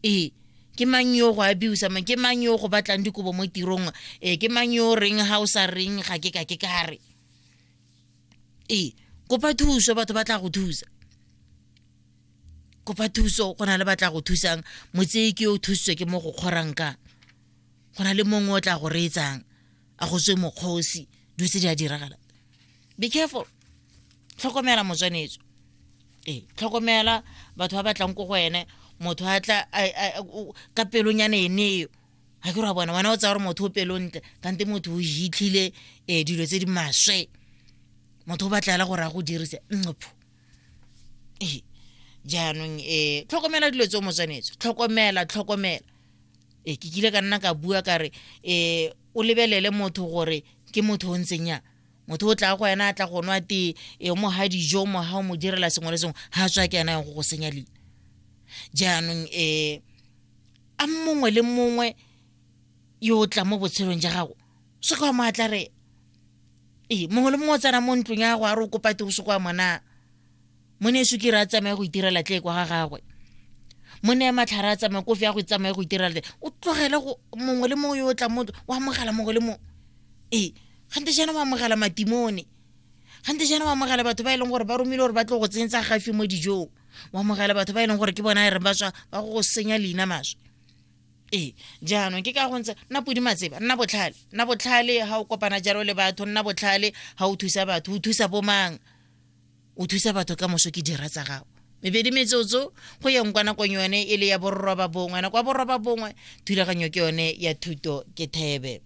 Ee, ke mang yo go abuse mang, ke mang yo go batlang dikobo mo tirong, ee, ke mang yo reng ga o sa reng ga ke ka ke ka re. Ee, kopa thuso, batho ba tla go thusa. Kopa thuso, go na le ba tla go thusang. Motsei ke yo o thusitswe ke mo go kgorang ka. Go na le mongwe o tla go reetsang, a go tswe mokgosi, dilo tse di a diragala. Be careful. Tlhokomela motswanetso. Ee, tlhokomela batho ba batlang ko go ene, motho a tla ka pelonyana ene eo. Ga ke re wa bona, wena o tsaya gore motho o pelontle, kante motho o hitlhile dilo tse di maswe. Motho o batla hela gore a go dirise nqopho. Ee, jaanong tlhokomela dilo tseo motswanetso, tlhokomela, tlhokomela. Ee, ke kile ka nna ka bua ka re o lebelele motho gore ke motho o ntseng yang. Motho o tla go wena a tla go nwa tee, e mo ha dijo, mo ha o mo direla sengwe le sengwe, ha tswa ke ena yang go go senya leina. Jaanong a mongwe le mongwe yo o tla mo botshelong ja gago, se ka wa mo atlarela. Ee, mongwe le mongwe o tsena mo ntlong ya gago a re o kopa tee, o se kwa mona. Mone sukiri a tsamaye go itirela tlee kwa ga gagwe. Mone ya matlhare a tsamaye, kofi ya go tsamaye go itirela tlee. O tlogele go mongwe le mongwe yo o tlang mo ntlong, o amogela mongwe le mongwe. Ee, gante jaana o amogela matimone. Gante jaana o amogela batho ba e leng gore ba romile gore ba tlo go tsenyetsa gafi mo dijong. O amogela batho ba e leng gore ke bona e reng ba tswa ba go go senya leina maswe. Ee, jaanong ke ka go ntse nna podi matseba, nna botlhale, nna botlhale ha o kopana jalo le batho, nna botlhale ha o thusa batho, o thusa bomang, o thusa batho ka moso ke dira tsa gago. Mebedi metsotso go yeng kwa nakong yone e le ya borroba bongwe, nako ya borroba bongwe thulaganyo ke yone ya thuto ke thebe.